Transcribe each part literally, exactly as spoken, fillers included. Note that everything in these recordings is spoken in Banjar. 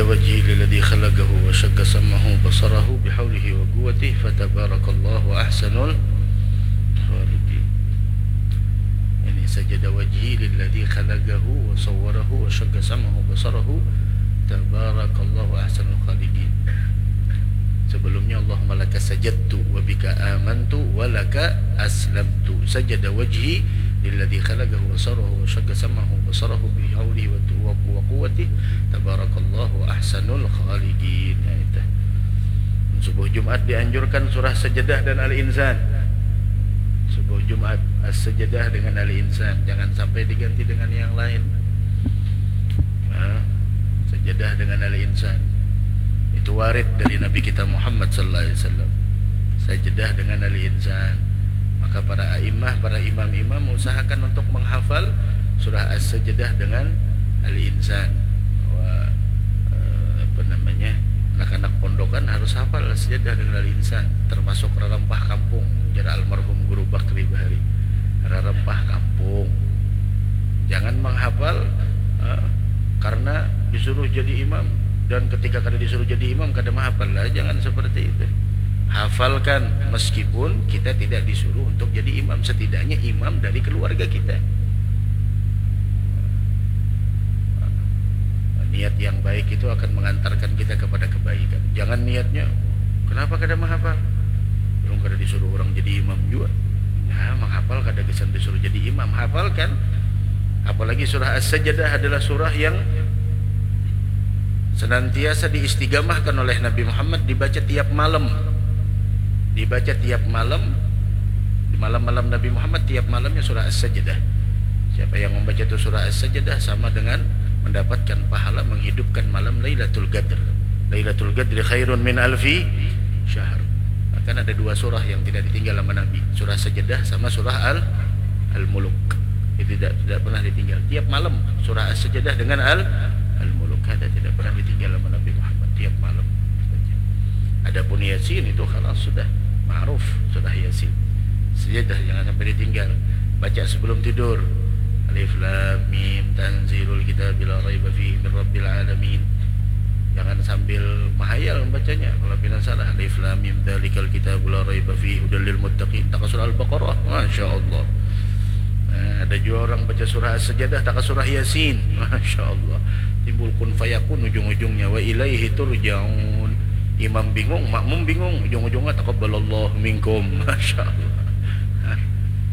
وجهه للذي خلقه وشق سمعه وبصره بحوله وقوته فتبارك الله أحسن الخالقين. يعني سجد وجهي للذي خلقه وصوره وشق سمعه وبصره تبارك الله أحسن الخالقين. Sebelumnya اللهم لك سجدت وبك آمنت ولك أسلمت. سجد وجهي للذي خلقه وصوره وشق سمعه وبصره بحوله وقوته تبارك الله أحسن الخالقين. Nah, itu. Subuh Jumat dianjurkan surah Sajadah dan Al-Insan. Subuh Jumat As-Sajadah dengan Al-Insan. Jangan sampai diganti dengan yang lain. Nah, Sajadah dengan Al-Insan. Itu warid dari Nabi kita Muhammad sallallahu alaihi wasallam. Sajadah dengan Al-Insan. Maka para a'immah, para imam-imam usahakan untuk menghafal surah As-Sajadah dengan Al-Insan. Bahwa, eh, apa namanya, anak-anak pondokan harus hafal As-Sajadah dengan Al-Insan, termasuk rarampah kampung, jar almarhum Guru Bakri bahari. Rarampah kampung. Jangan menghafal, eh, karena disuruh jadi imam, dan ketika kada disuruh jadi imam kada menghafal lah, jangan seperti itu. Hafalkan meskipun kita tidak disuruh untuk jadi imam, setidaknya imam dari keluarga kita. Niat yang baik itu akan mengantarkan kita kepada kebaikan. Jangan niatnya, "Kenapa kada menghafal?" Belum kada disuruh orang jadi imam juga. Nah, menghafal kada kesan disuruh jadi imam. Hafalkan. Apalagi surah As-Sajadah adalah surah yang senantiasa diistigamahkan oleh Nabi Muhammad, dibaca tiap malam. Dibaca tiap malam, di malam-malam Nabi Muhammad, tiap malamnya surah As-Sajadah. Siapa yang membaca itu surah As-Sajadah sama dengan mendapatkan pahala menghidupkan malam Lailatul Qadr. Lailatul Qadri khairun min alfi syahr. Bahkan ada dua surah yang tidak ditinggal sama Nabi, surah Sajadah sama surah Al Al-Muluk. Itu tidak tidak pernah ditinggal. Tiap malam surah As-Sajadah dengan Al Al-Muluk ada, tidak pernah ditinggal sama Nabi Muhammad, tiap malam. Adapun Yasin itu khalas, sudah ma'ruf, surah Yasin. Sajadah jangan sampai ditinggal. Baca sebelum tidur. Alif Lam Mim, tanzilul kitabi la raiba fihi min rabbil alamin. Jangan sambil mahayal membacanya. Kalau pina salah, Alif Lam Mim, dzalikal kitabu la raiba fihi hudal lil muttaqin. Taka surah Al-Baqarah. Masya Allah. Nah, ada juga orang baca surah As-Sajadah, taka surah Yasin. Masya Allah. Timbul kun fayakun ujung-ujungnya. Wa ilaihi turja'un. Imam bingung, makmum bingung, ujung-ujungnya taqabbalallahu minkum. Masya Allah. Hah?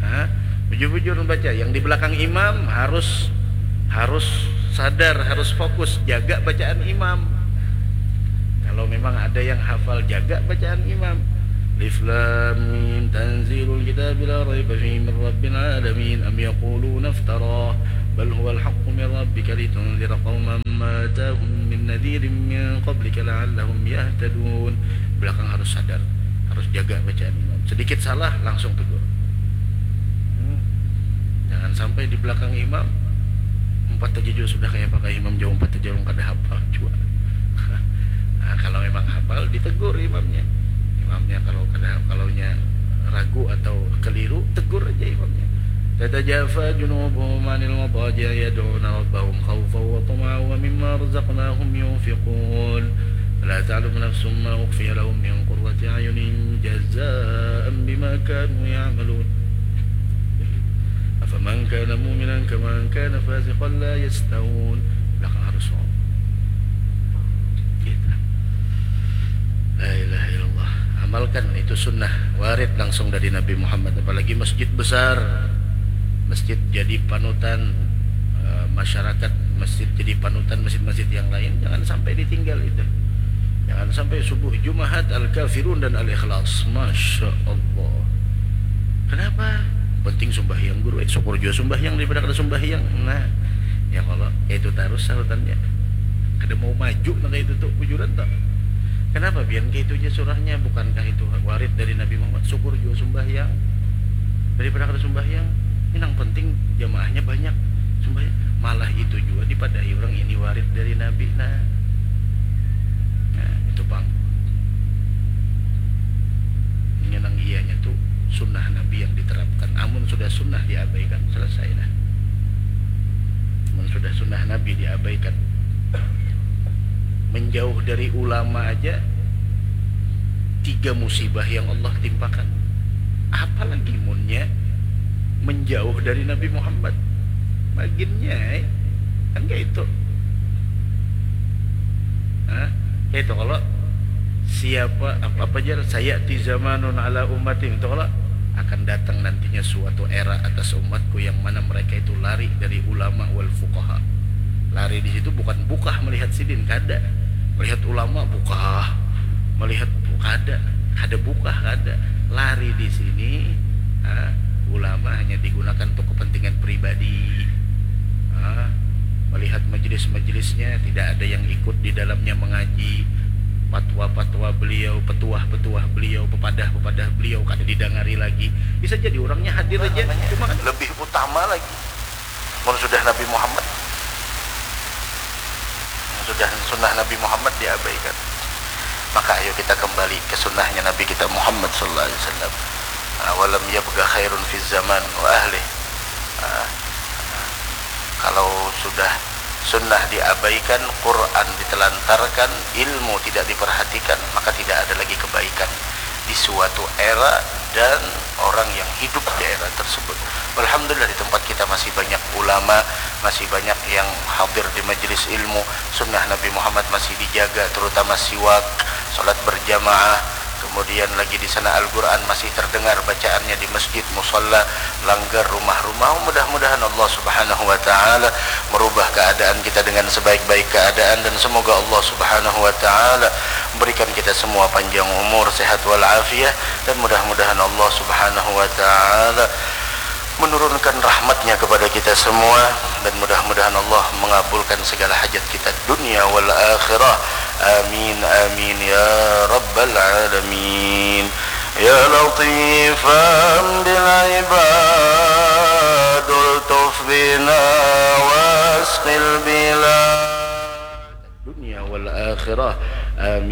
Hah? Bujur-bujur membaca. Yang di belakang imam harus harus sadar, harus fokus, jaga bacaan imam. Kalau memang ada yang hafal, jaga bacaan imam. Alif Lam Mim, tanzilul kitabi la raiba fihi min rabbil alamin, am yaquluna iftarah, bal huwal haqqu min rabbika litunzira qauman ma atahum min nadhirin min qablika la'allahum yahtadun. Belakang harus sadar, harus jaga bacaan imam. Sedikit salah, langsung tegur. Hmm. Jangan sampai di belakang imam, umpat aja jua sudah kayak pakai imam jauh, umpat aja orang kada hafal jua. Nah, kalau memang hafal, ditegur imamnya. Imamnya kalau kada, kalaunya ragu atau keliru, tegur aja imamnya. Tatajafa junubuhum anil madaji' yad'una rabbahum khawfan wa tama'an wa mimma razaqnahum yunfiqun. Fala ta'lamu nafsun ma ukhfiya lahum min qurrati a'yunin jazaan bima kanu ya'malun. Afaman kana mu'minan kaman kana fasiqan la yastawun. Belakang harus wau. Gitu. La ilaha illallah. Amalkan, itu sunnah warid langsung dari Nabi Muhammad. Apalagi masjid besar, masjid jadi panutan, eh, masyarakat, masjid jadi panutan masjid-masjid yang lain. Jangan sampai ditinggal itu. Jangan sampai subuh Jumahat Al-Kafirun dan Al-Ikhlas. Masya Allah. Kenapa? Penting sumbahyang guru. Eh, syukur juga sumbahyang daripada kada sumbahyang. Nah, ya Allah, ya itu terus sahutannya. Kada mau maju nang itu tuh bujuran tak. Kenapa pian kayak itu aja surahnya? Bukankah itu warid dari Nabi Muhammad? Syukur juga sumbahyang daripada kada sumbahyang. Ini nang penting jamaahnya banyak sumbahyang. Malah itu juga dipadahi orang ini warid dari Nabi. Nah, nah itu pang. Ini nang iyanya tuh sunnah Nabi yang diterapkan. Amun sudah sunnah diabaikan, selesai dah. Amun sudah sunnah Nabi diabaikan, Menjauh dari ulama aja tiga musibah yang Allah timpakan. Apalagi munnya menjauh dari Nabi Muhammad. Maginnya, eh. Kan kayak itu. Hah? Kayak itu kalau siapa apa, apa aja saya di zamanun ala ummati itu kalau akan datang nantinya suatu era atas umatku yang mana mereka itu lari dari ulama wal fuqaha. Lari di situ bukan bukah melihat sidin, kada. Melihat ulama bukah, melihat kada, kada bukah, kada. Lari di sini, ah, ulama hanya digunakan untuk kepentingan pribadi. Ah, melihat majelis-majelisnya tidak ada yang ikut di dalamnya mengaji, patwa-patwa beliau, petuah-petuah beliau, pepadah-pepadah beliau kada didangari lagi. Bisa jadi orangnya hadir aja, cuma kan lebih utama lagi mun sudah Nabi Muhammad, mun sudah sunnah Nabi Muhammad diabaikan. Maka ayo kita kembali ke sunnahnya Nabi kita Muhammad sallallahu alaihi wasallam. Ah, walam yabqa khairun fi zaman wa ahli. Ah, kalau sudah sunnah diabaikan, Quran ditelantarkan, ilmu tidak diperhatikan, maka tidak ada lagi kebaikan di suatu era dan orang yang hidup di era tersebut. Alhamdulillah, di tempat kita masih banyak ulama, masih banyak yang hadir di majelis ilmu, sunnah Nabi Muhammad masih dijaga, terutama siwak, salat berjamaah, kemudian lagi di sana Al-Quran masih terdengar bacaannya di masjid, musalla, langgar, rumah-rumah. Mudah-mudahan Allah Subhanahu wa Ta'ala merubah keadaan kita dengan sebaik-baik keadaan, dan semoga Allah Subhanahu wa Ta'ala memberikan kita semua panjang umur, sehat walafiat, dan mudah-mudahan Allah Subhanahu wa Ta'ala menurunkan rahmatnya kepada kita semua, dan mudah-mudahan Allah mengabulkan segala hajat kita dunia wal akhirah. Amin, amin, ya rabbal alamin. Ya latifan bil ibad, ultuf bina wasqil bilad dunia wal akhirah. Amin.